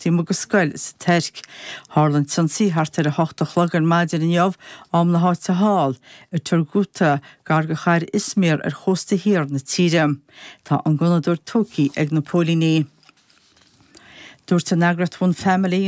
taobh amuigh de scoil sa Tuirc. Tharla an t-ionsaí thart ar 8 a chlog ar maidin inniu, am na háite thall, i Turgut, gar do chathair Izmir ar chósta thiar na tíre. Tá an gunnadóir tógtha ag na póilíní. Dúirt an eagraíocht One Family.